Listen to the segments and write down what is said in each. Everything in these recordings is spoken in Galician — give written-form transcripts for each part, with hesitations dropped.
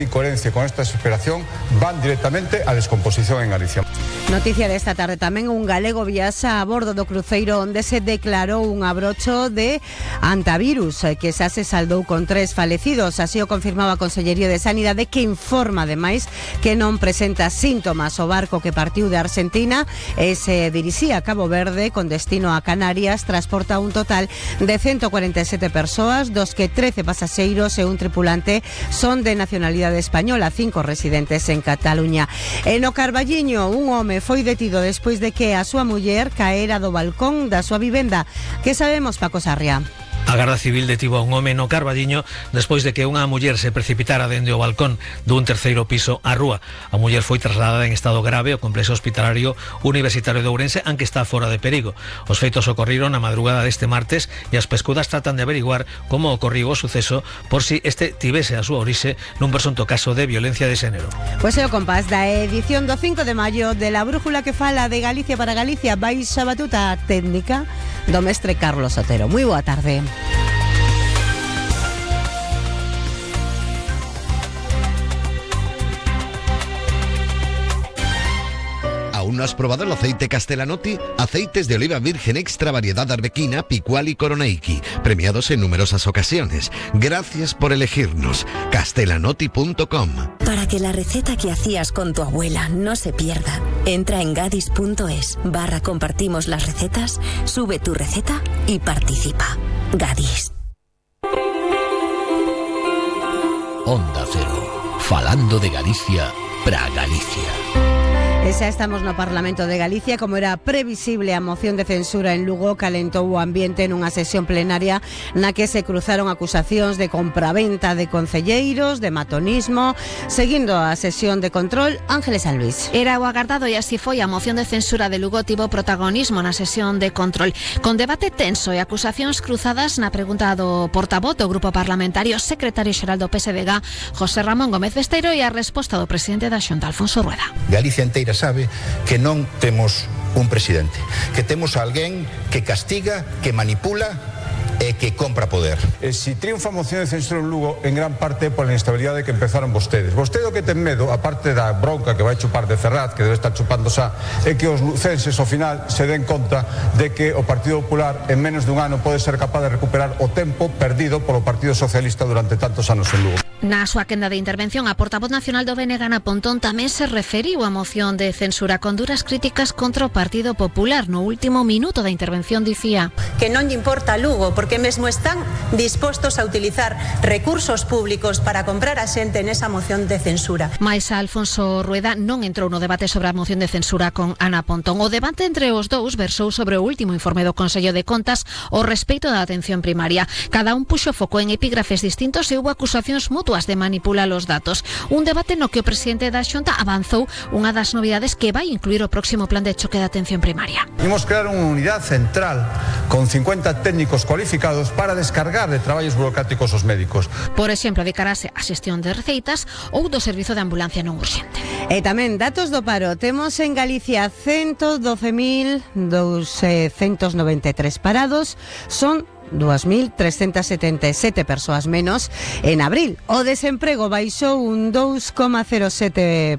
Incoherencia con esta desesperación van directamente a descomposición en Galicia. Noticia desta tarde tamén, un galego viaxa a bordo do cruceiro onde se declarou un abrocho de antivirus que xa se saldou con 3 falecidos. Así o confirmaba a Consellería de Sanidade, que informa ademais que non presenta síntomas o barco que partiu de Argentina e se dirixía a Cabo Verde con destino a Canarias. Transporta un total de 147 persoas, dos que 13 pasaxeiros e un tripulante son de nacionalidade española, 5 residentes en Cataluña. E no Carballiño, un home foi detido despois de que a súa muller caera do balcón da súa vivenda. Que sabemos, Paco Sarria? A Garda Civil detivo a un home no Carballiño despois de que unha muller se precipitara dende o balcón dun terceiro piso á rúa. A muller foi trasladada en estado grave ao complexo hospitalario universitario de Ourense, aunque está fora de perigo. Os feitos ocorriron na madrugada deste martes e as pescudas tratan de averiguar como ocorriu o suceso por si este tivese a súa orixe nun presunto caso de violencia de xénero. Pois é o compás da edición do 5 de maio de La Brújula, que fala de Galicia para Galicia, baixa batuta técnica do mestre Carlos Otero. Moi boa tarde. ¿Aún no has probado el aceite Castellanotti? Aceites de oliva virgen extra variedad arbequina, picual y coroneiki, premiados en numerosas ocasiones. Gracias por elegirnos. Castellanotti.com. Para que la receta que hacías con tu abuela no se pierda, entra en gadis.es/compartimos las recetas, sube tu receta y participa. Gadis. Onda Cero, falando de Galicia para Galicia. E xa estamos no Parlamento de Galicia. Como era previsible, a moción de censura en Lugo calentou o ambiente nunha sesión plenaria na que se cruzaron acusacións de compraventa de concelleiros, de matonismo. Seguindo a sesión de control, Ángeles San Luis. Era o agardado e así foi. A moción de censura de Lugo tivo protagonismo na sesión de control, con debate tenso e acusacións cruzadas na pregunta do portavoz do Grupo Parlamentario, secretario xeral do PSDG, José Ramón Gómez Besteiro, e a resposta do presidente da Xunta, Alfonso Rueda. Galicia inteira sabe que non temos un presidente, que temos alguén que castiga, que manipula e que compra poder. Si triunfa a moción de censura en Lugo, en gran parte por a inestabilidade que empezaron vostedes. Vostede o que ten medo, aparte da bronca que vai chupar de Ferraz, que debe estar chupando xa, é que os lucenses ao final se den conta de que o Partido Popular en menos dun ano pode ser capaz de recuperar o tempo perdido polo Partido Socialista durante tantos anos en Lugo. Na súa quenda de intervención, a portavoz nacional do BNG, Ana Pontón, tamén se referiu á moción de censura con duras críticas contra o Partido Popular. No último minuto da intervención dicía que non lle importa Lugo, porque mesmo están dispostos a utilizar recursos públicos para comprar a xente nesa moción de censura. Mais Alfonso Rueda non entrou no debate sobre a moción de censura con Ana Pontón. O debate entre os dous versou sobre o último informe do Consello de Contas ao respeito da atención primaria. Cada un puxo foco en epígrafes distintos e houbo acusacións mutuas de manipular os datos. Un debate no que o presidente da Xunta avanzou unha das novidades que vai incluir o próximo plan de choque de atención primaria. Imos crear unha unidade central con 50 técnicos cualificados para descargar de traballos burocráticos os médicos. Por exemplo, dedicarase á xestión de receitas ou do servizo de ambulancia non urxente. E tamén datos do paro. Temos en Galicia 112.293 parados. Son 2.377 persoas menos en abril. O desemprego baixou un 2,07%,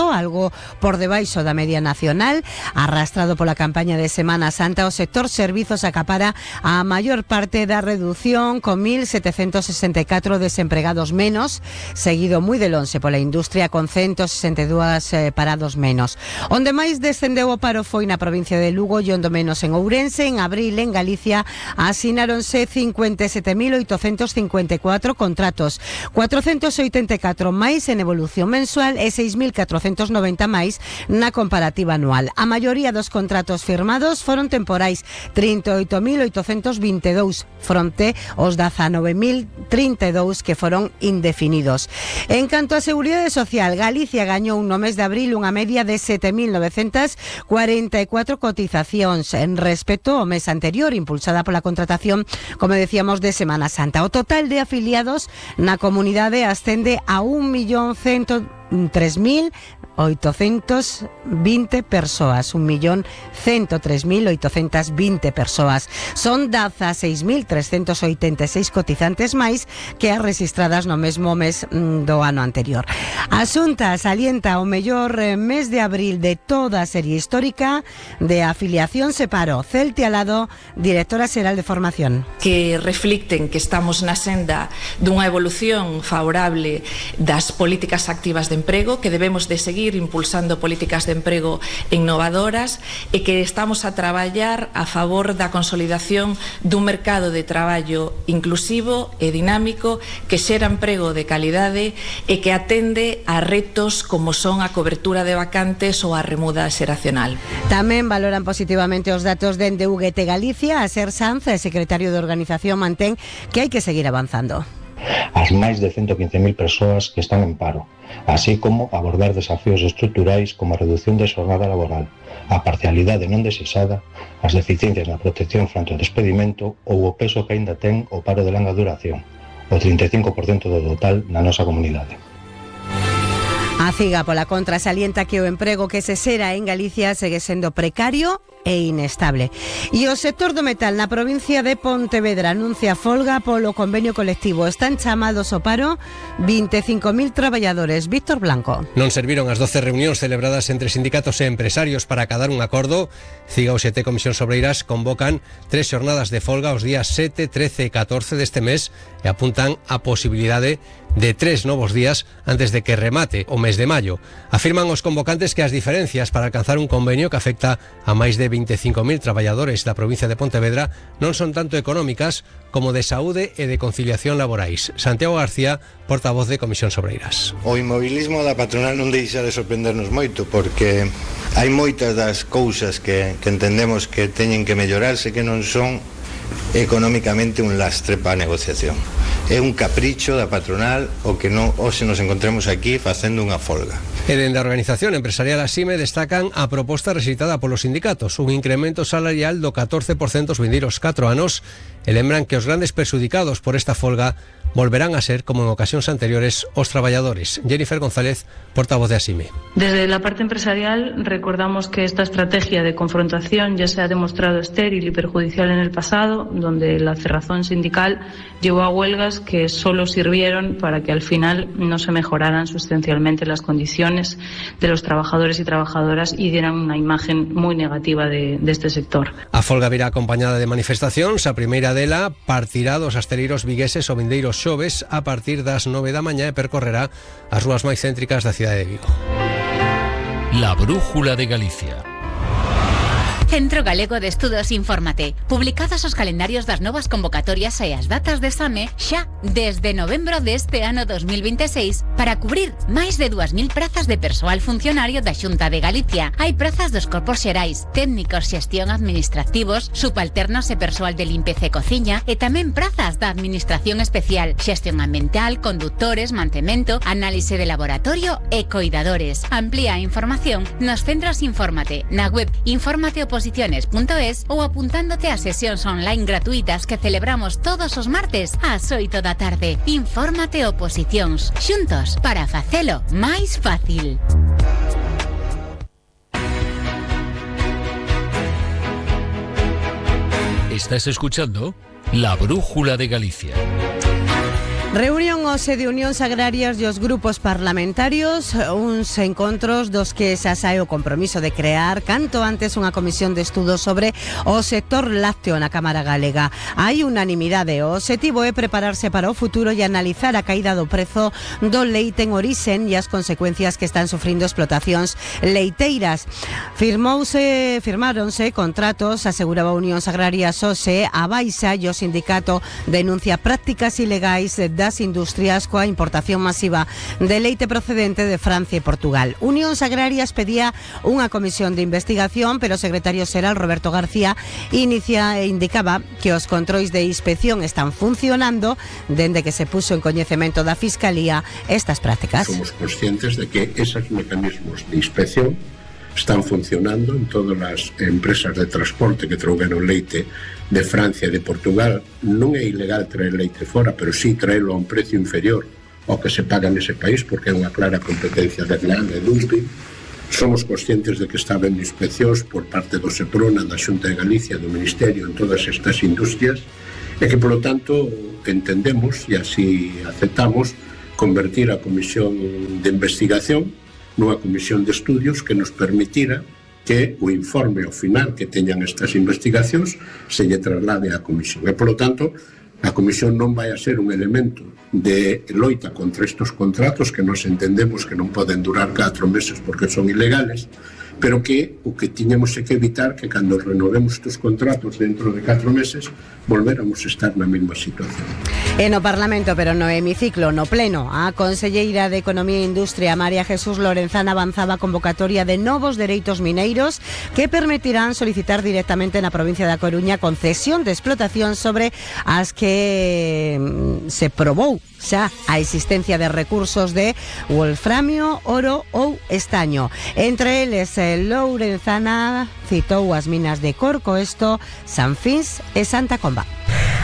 algo por debaixo da media nacional. Arrastrado pola campaña de Semana Santa, o sector servizos acapara a maior parte da redución, con 1.764 desempregados menos, seguido moi de lonxe pola industria, con 162 parados menos. Onde máis descendeu o paro foi na provincia de Lugo e onde menos en Ourense. En abril, en Galicia, asinaronse 57.854 contratos, 484 máis en evolución mensual e 6.490 máis na comparativa anual. A maioría dos contratos firmados foron temporais, 38.822 fronte aos 19.032 que foron indefinidos. En canto a seguridade social, Galicia gañou no mes de abril unha media de 7.944 cotizacións en respecto ao mes anterior, impulsada pola contratación, como decíamos, de Semana Santa. O total de afiliados na comunidade ascende a 1.103.000 1.820 persoas, 1.103.820 persoas. Son 16.386 cotizantes máis que as rexistradas no mesmo mes do ano anterior. A Xunta salienta o mellor mes de abril de toda a serie histórica de afiliación se paro. Celti Alado, directora xeral de formación. Que reflicten que estamos na senda dunha evolución favorable das políticas activas de emprego, que debemos de seguir impulsando políticas de emprego innovadoras e que estamos a traballar a favor da consolidación dun mercado de traballo inclusivo e dinámico que xera emprego de calidade e que atende a retos como son a cobertura de vacantes ou a remuda xeracional. Tamén valoran positivamente os datos dende UGT Galicia. A Ser Sanz, secretario de organización, mantén que hai que seguir avanzando. As máis de 115.000 persoas que están en paro, así como abordar desafíos estruturais como a reducción de xornada laboral, a parcialidade non desexada, as deficiencias na protección fronte ao despedimento ou o peso que aínda ten o paro de longa duración, o 35% do total na nosa comunidade. A CIGA, pola contra, salienta que o emprego que se xera en Galicia segue sendo precario e inestable. E o sector do metal na provincia de Pontevedra anuncia folga polo convenio colectivo. Están chamados ao paro 25.000 traballadores. Víctor Blanco. Non serviron as 12 reunións celebradas entre sindicatos e empresarios para acadar un acordo. CIGA, UGT e Comisións Obreiras convocan 3 xornadas de folga os días 7, 13 e 14 deste mes e apuntan a posibilidade de 3 novos días antes de que remate o mes de maio. Afirman os convocantes que as diferencias para alcanzar un convenio que afecta a máis de 25.000 traballadores da provincia de Pontevedra non son tanto económicas como de saúde e de conciliación laborais. Santiago García, portavoz de Comisións Obreiras. O inmobilismo da patronal non deixa de sorprendernos moito, porque hai moitas das cousas que entendemos que teñen que mellorarse que non son económicamente un lastre para a negociación. É un capricho da patronal o que non hoxe nos encontremos aquí facendo unha folga. E dende a organización empresarial ASIME destacan a proposta recitada polos sindicatos, un incremento salarial do 14% os vindeiros 4 anos, e lembran que os grandes perxudicados por esta folga volverán a ser, como en ocasións anteriores, os traballadores. Jennifer González, portavoz de ASIME. Desde la parte empresarial recordamos que esta estrategia de confrontación ya se ha demostrado estéril y perjudicial en el pasado, donde la cerrazón sindical llevó a huelgas que solo sirvieron para que al final no se mejoraran sustancialmente las condiciones de los trabajadores y trabajadoras y dieran una imagen muy negativa de este sector. A folga virá acompañada de manifestacións. A primeira dela partirá dos asteleiros vigueses o vindeiros xoves a partir das 9 da mañá e percorrerá as rúas máis céntricas da cidade de Vigo. La Brújula de Galicia. Centro Galego de Estudos Infórmate. Publicados os calendarios das novas convocatorias e as datas de exame xa desde novembro deste ano 2026 para cubrir máis de 2.000 prazas de persoal funcionario da Xunta de Galicia. Hai prazas dos corpos xerais, técnicos, xestión administrativos, subalternos e persoal de limpeza e cociña e tamén prazas da administración especial, xestión ambiental, condutores, mantemento, análise de laboratorio e coidadores. Amplía a información nos centros Infórmate, na web informateoposiciones.es ou apuntándote a sesións online gratuitas que celebramos todos os martes ás 8 da tarde. Infórmate Oposicións, xuntos para facelo máis fácil. Estás escuchando La Brújula de Galicia. Reunión hoxe de Unións Agrarias e os grupos parlamentarios, uns encontros dos que xa sae o compromiso de crear canto antes unha comisión de estudo sobre o sector lácteo na Cámara Galega. Hai unanimidade, o obxectivo é prepararse para o futuro e analizar a caída do prezo do leite en orixen e as consecuencias que están sufrindo explotacións leiteiras. Firmáronse contratos, aseguraba Unións Agrarias hoxe, a Baixa e o sindicato denuncia prácticas ilegais das industrias coa importación masiva de leite procedente de Francia e Portugal. Unións Agrarias pedía unha comisión de investigación, pero o secretario xeral Roberto García indicaba que os controis de inspección están funcionando dende que se puso en coñecemento da Fiscalía estas prácticas. Somos conscientes de que esos mecanismos de inspección están funcionando en todas as empresas de transporte que trouxeron leite de Francia e de Portugal. Non é ilegal traer leite fora, pero sí traerlo a un precio inferior ao que se paga nese país, porque é unha clara competencia desleal e dumping. Somos conscientes de que está habendo inspeccións por parte do Seprona, da Xunta de Galicia, do Ministerio, en todas estas industrias, e que, polo tanto, entendemos e así aceptamos convertir a Comisión de Investigación nunha comisión de estudios que nos permitira que o informe ao final que teñan estas investigacións se lle traslade á Comisión. E, polo tanto, a Comisión non vai a ser un elemento de loita contra estes contratos que nos entendemos que non poden durar 4 meses porque son ilegales, pero que o que tiñamos é que evitar que cando renovemos estes contratos dentro de 4 meses volvéramos a estar na mesma situación. E no Parlamento, pero no hemiciclo, no pleno, a conselleira de Economía e Industria, María Jesús Lorenzana, avanzaba a convocatoria de novos dereitos mineiros que permitirán solicitar directamente na provincia da Coruña concesión de explotación sobre as que se probou xa a existencia de recursos de wolframio, oro ou estaño. Entre eles, Lorenzana citou as minas de Corcoesto, San Fins e Santa Comba.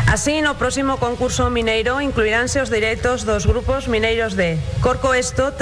Así, no próximo concurso mineiro incluiránse os dereitos dos grupos mineiros de Corcoesto,